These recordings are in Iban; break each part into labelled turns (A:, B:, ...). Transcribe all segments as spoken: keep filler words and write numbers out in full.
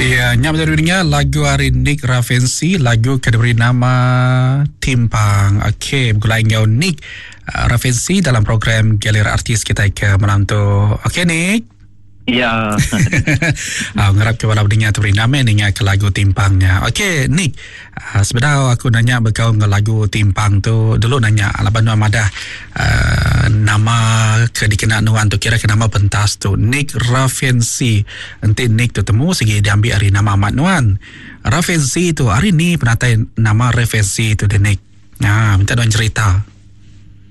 A: Ya, nyam dari dunia lagu hari Nick Ravensi, lagu ke diberi nama Timpang. Okey, bergulai dengan Nick uh, Ravensi dalam program Galeri Artis kita ke malam tu. Okey Nick.
B: Ya.
A: uh, ngarap ke walau dengar tu beri nama dengar ke lagu Timpangnya. Okey Nick, uh, sebenarnya aku nanya berkau dengan lagu Timpang tu dulu nanya laban nuan madah uh, nama ke dikenal nuan tu kira ke nama pentas tu Nick Ravensi. Enti Nick tu temu segi diambil hari nama amat nuan. Ravensi tu hari ni penatai nama Ravensi tu de Nick. Ha, minta nuan cerita.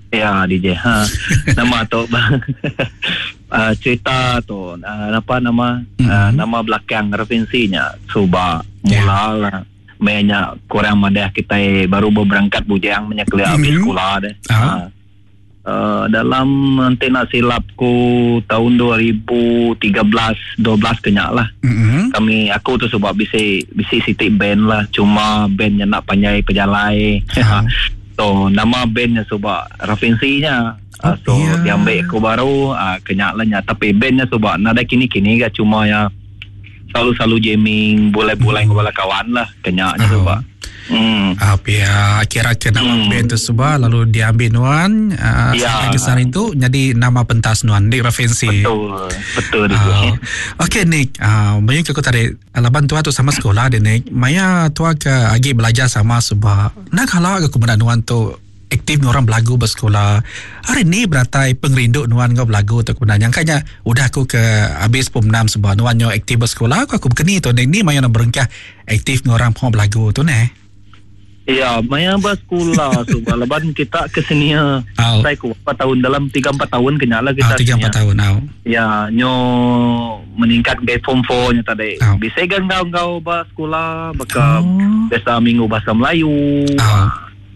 B: Ya D J. Ha. Nama tu uh, cerita tu uh, apa nama mm-hmm. uh, nama belakang referensinya suba mula yeah. lah banyak kurang madah kita baru berangkat bujang menyeklia mm-hmm. habis sekolah deh. Uh-huh. Uh, uh, dalam nanti nak silapku tahun dua ribu tiga belas dua belas kenyak lah. Mm-hmm. Kami aku tu sebab bisi bisi city band lah, cuma bandnya nak panjai pejalai. Uh-huh. So nama bandnya sebab referensinya. Oh, so yeah. Diambil aku baru uh, kenyak lah nya. Tapi bandnya sebab nada kini-kini gak cuma ya selalu-selalu jamming boleh-boleh hmm. dengan kawan lah kenyaknya oh. Sebab hmm.
A: Apa ya kira ke nama hmm. band tu sebab lalu diambil nuan uh, ya. Sampai ke sana itu jadi nama pentas nuan Nick Ravensi.
B: Betul betul
A: uh, Okey Nick, uh, banyak aku tadi laban tua tu sama sekolah deh Nick. Maya tua ke agi belajar sama sebab nak kalau aku benar nuan tu aktif orang belagu bersekolah. Hari ni beratai pengerindu nuan ngau belagu tu kebenaran. Yang kanya udah aku ke habis pom enam sebab nuan nyo aktif bersekolah aku aku berkeni tu ni maya nak berengkah aktif orang pom belagu tu ne.
B: Ya, maya bersekolah sebab leban kita ke sini oh. Saya ku empat tahun dalam tiga empat tahun kenyala kita.
A: Oh, tiga empat tahun oh.
B: Ya, nyo meningkat ke form empat nya tadi.
A: Oh.
B: Bisa gangau gau bersekolah baka
A: oh.
B: Biasa minggu bahasa Melayu.
A: Oh.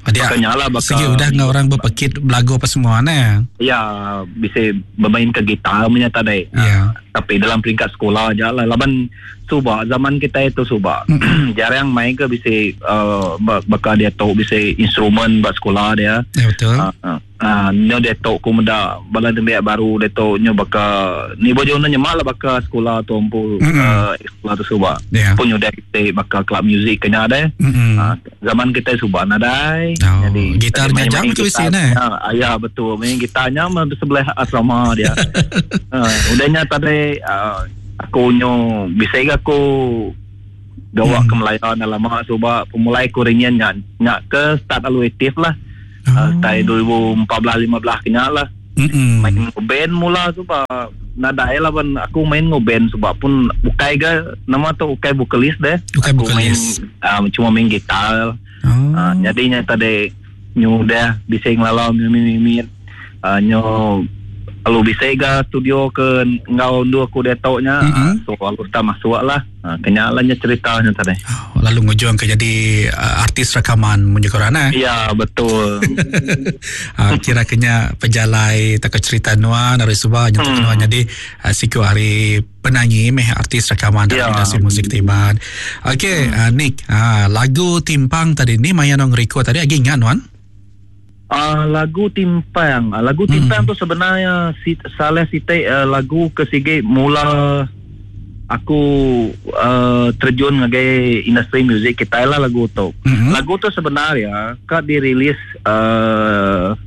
A: Dia
B: lah baka,
A: segi udah ngau orang berpekit belagu apa semua ne.
B: Ya, bisa bermain ke gitar punya tadi.
A: Ya.
B: Tapi dalam peringkat sekolah aja lah. Laban suba zaman kita itu suba
A: mm.
B: jarang main ke bisa uh, baka dia tahu bisa instrumen buat sekolah dia.
A: Ya betul.
B: Uh, uh, uh, nyo dia tahu ku meda bala dembiak baru dia tahu nyo baka ni bojo nyo nyemak lah baka sekolah tu empu
A: mm.
B: uh, sekolah tu suba.
A: Yeah.
B: Pun nyo dia kita baka club music kena ada.
A: Mm.
B: Uh, zaman kita suba nadai.
A: Oh,
B: jadi
A: gitarnya jam ke sini.
B: Uh, ya betul, main gitarnya sebelah asrama dia. uh, udahnya tadi uh, aku nyo bisa aku gawa
A: hmm.
B: ke Melayu dah lama sebab pemulai aku ringan nyak nyak ke start lalu aktif lah.
A: Oh.
B: Uh, start dua ribu empat belas lima belas kenyak lah.
A: Mm-mm.
B: Main band mula sebab nadai lah ban aku main band sebab pun bukai ke nama tu ukai vokalis deh.
A: Ukai
B: aku
A: vokalis.
B: Main, uh, cuma main gitar.
A: Oh.
B: Uh, jadinya tadi nyo dah bisa ngelalau mimit-mimit uh, nyo kalau bisa ke studio ke ngau dua aku dia taunya
A: mm-hmm.
B: So lalu tak masuk lah uh, kenyalanya ceritanya tadi.
A: Oh, lalu ngujuang ke jadi uh, artis rekaman menyekorana.
B: Ya betul.
A: uh, kira kenya pejalai tak cerita nuan dari subah nyentuh
B: hmm.
A: nuan jadi uh, siku hari penyanyi meh artis rekaman dalam
B: ya.
A: Industri muzik Tiban. Okey
B: hmm.
A: uh, Nick, uh, lagu Timpang tadi ni maya nong record tadi lagi ingat nuan?
B: Uh, lagu Timpang, lagu Timpang
A: hmm.
B: tu sebenarnya si, salah siti uh, lagu ke sige mula aku uh, terjun ngagai industri muzik kita lah lagu tu.
A: Hmm.
B: Lagu tu sebenarnya ka dirilis uh,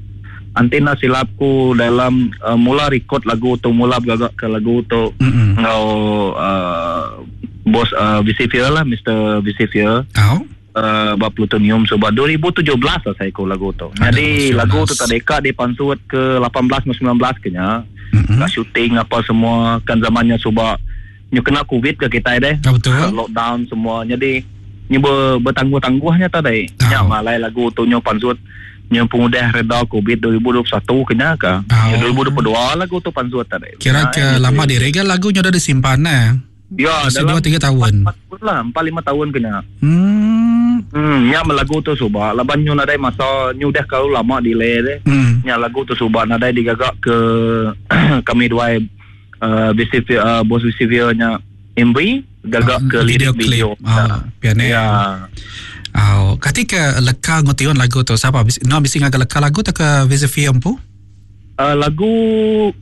B: antena silapku dalam uh, mula record lagu tu mula bergagak ke lagu tu
A: hmm.
B: ngau uh, bos uh, Visifier lah, Mister Visifier.
A: Oh.
B: Uh, bab plutonium sebab dua ribu tujuh belas lah saya ku lagu tu. Jadi lagu tu tak dekat dia pansut ke lapan belas sembilan belas kenya.
A: Mm-hmm.
B: Kat syuting apa semua kan zamannya sebab nyu kena covid ke kita deh.
A: Oh, betul.
B: Lockdown semua. Jadi nyu ber, bertangguh-tangguhnya tadi.
A: Oh.
B: Nya malai lagu tu nyu pansut nyu pengudah reda covid dua ribu dua puluh satu kenya ke.
A: Oh.
B: Nyu dua ribu dua puluh dua lagu tu pansut tadi.
A: Kira ke
B: nah,
A: lama diregal lagu nyu dah disimpan nah.
B: Ya,
A: masih
B: dalam
A: dua tiga tahun.
B: empat tahun lah, empat lima tahun kena.
A: Hmm.
B: Hmm, nya lagu tu subah laban nyu nadai masa nyu dah kalau lama delay deh.
A: Hmm.
B: Nya lagu tu subah nadai digagak ke kami dua uh, B C V uh, bos B C V nya M V gagak
A: uh,
B: ke
A: video
B: lirik video.
A: Clip. Ah, piano.
B: Ya.
A: Oh, ketika leka ngotion lagu tu siapa? No bisi ngaga leka lagu tu ke V C V empu?
B: Uh, lagu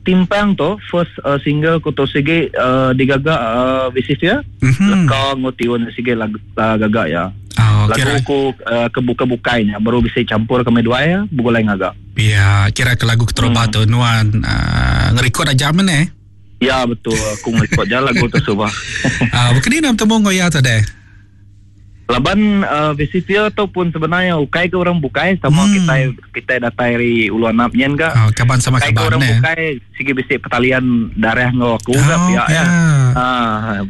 B: Timpang tu first uh, single ku tu sigi uh, digaga uh, V C ya.
A: Mhm.
B: Leka ngotiun sigi lagu uh, gaga ya.
A: Oh,
B: lagu
A: kira
B: ku uh, kebuka-bukainya baru bisa campur kami dua ya bugulai ngaga.
A: Ya, kira ke lagu keterubah
B: Hmm.
A: tu nuan uh, ngerekod aja mana eh?
B: Ya, betul, aku ngerekod je lagu tu subah.
A: Ah, uh, bukan ni nak temu ngoya tu deh.
B: Laban uh, V C P ataupun sebenarnya ukai ke orang bukai sama
A: Hmm.
B: kita kita datai dari Ulu Anap nyen ka.
A: Oh, kaban sama
B: Ukai ke
A: kaban
B: orang
A: eh.
B: bukai sigi bisi pertalian darah ngau aku ke
A: Oh,
B: pihak
A: ya.
B: ya. Ah,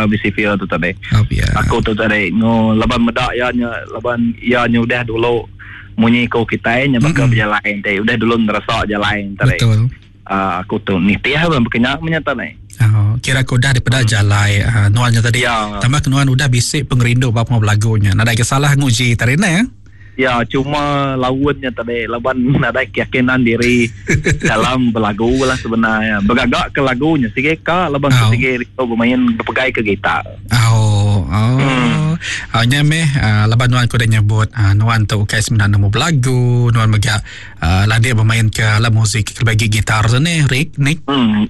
B: V C P tu tadi.
A: Oh, ya.
B: Aku tu tadi ngo laban medak ya nya laban ya nya udah dulu munyi ko kita nya bakal
A: Mm-mm.
B: berjalan tadi udah dulu ngerasa jalan tadi.
A: Betul.
B: Ah, aku tu nitih bang berkenyak menyata ni.
A: Oh, kira aku dah daripada hmm. jalai uh, nuannya tadi.
B: Ya.
A: Tambah kenuan udah bisik pengerindu bab mau lagunya. Nadai kesalah nguji tadi ne.
B: Ya, cuma lawannya tadi laban ada keyakinan diri dalam berlagu lah sebenarnya. Bergagak ke lagunya sikit ka laban
A: Oh.
B: sikit itu bermain berpegai ke gitar.
A: Oh, oh.
B: Hmm.
A: Oh, nya meh uh, laban nuan ku dah nyebut uh, nuan tu ukai sebenarnya nemu belagu, nuan mega uh, lah dia bermain ke alat muzik ke bagi gitar tu ni, Rick, Nick.
B: Hmm.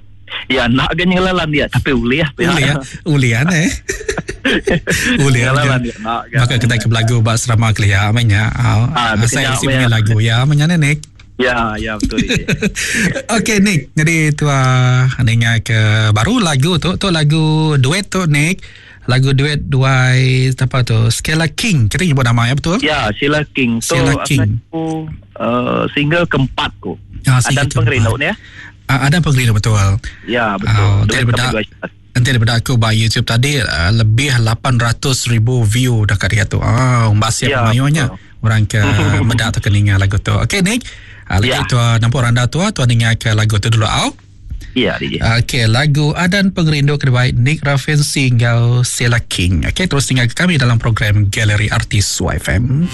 B: Ya, nak ke nyelalan dia tapi uliah
A: Ulia, ulia ne. Ulia.
B: Nyelalan dia nak ke.
A: Maka kita ke belagu bak serama kelia amanya. Oh,
B: Ah,
A: saya
B: berkenyak
A: isi punya
B: meh.
A: lagu ya amanya ne Nick.
B: Ya, ya betul dia.
A: Okey Nick, jadi tu uh, ninga ke baru lagu tu, tu lagu duet tu Nick. Lagu duet duai apa tu? Skela King. Kita nyebut nama ya betul?
B: Ya, Sheila King tu
A: Sheila King.
B: aku uh, single keempat ku.
A: Ah, single
B: Adan Pengerindu
A: keempat.
B: ni ya.
A: Ah, Adan Pengerindu betul.
B: Ya, betul.
A: Oh,
B: Duet
A: daripada-
B: kami dua.
A: Nanti daripada aku by YouTube tadi uh, lebih lapan ratus ribu view dekat dia tu. Ah, umbas siap
B: Ya,
A: mayunya
B: betul.
A: orang ke medak atau ke ninga lagu tu. Okey Nick. Uh, lagi
B: Ya.
A: tu uh, nampak randa tu tuan ninga ke lagu tu dulu au.
B: Ya, D J.
A: Okey, lagu Adan Pengerindu kedua Nick Raffensi hingga Sheila King. Okey, terus tinggal ke kami dalam program Galeri Artis Y F M.